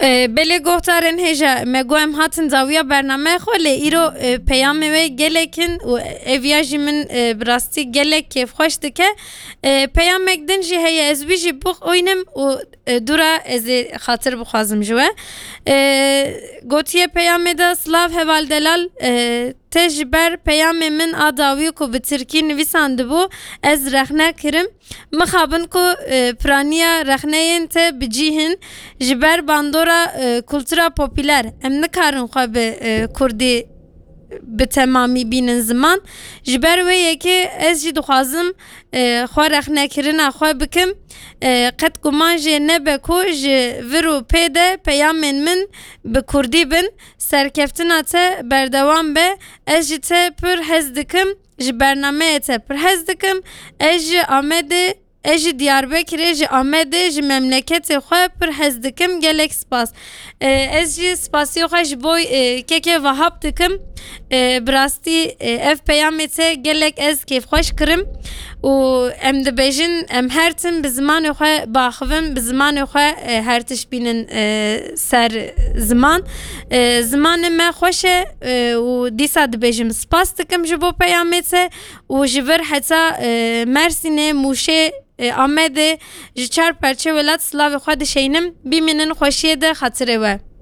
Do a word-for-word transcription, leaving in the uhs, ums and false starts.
E, belê guhdarên hêja, me got em hatin dawiya bername xwe, lê îro, e, peyamê we gelek in û ev ya jî min, e, bi rastî gelek kêfxweş dike. E, peyamek din jî heye, ez wî jî bixwînim û, e, dûra ez ê xatir bixwazim ji we. E, gotiye peyamê de, Silav heval delal, e, te ji ber peyamê min a dawî ku bi tirkî nivîsandibû, ez rexne kirim. Mixabin ku, e, piraniya rexneyên te bi cî hin, ji ber bandora, e, kultura popüler, em nikarin xwe bi, e, kurdî bi temamî bînin ziman. Ji ber wê yekê ez jî dixwazim, e, xwe rexnekirina xwe bikim. E, qet guman jê nebe ku ji vir û pê de peyamên min bi kurdî bin. Serkeftina te berdewam be. Ez ji te pir hez dikim. Ji bernameyê te pir hez dikim. Ez ji Amedê, ez ji Diyarbekirê, ji Amedê, ji memleketê xwe pir hez dikim. Gelek spas. E, ez jî spasiya xwe ji bo, e, kekê Vahap dikim. E, bi rastî, e, ev peyamê te gelek ez kêfxweş kirim. Û em dibêjin, em her tim bi zimanê xwe biaxivin, bi zimanê xwe, e, her tişt bînin, e, ser ziman. E, zimanê me xweş e, e, û dîsa dibêjim spas dikim ji bo peyamê te û ji vir heta, e, Mersînê, Mûşê, e, Amedê ji çar perçe welat silavê xwe dişeynim. Bimînin xweşiyê de xatirê we.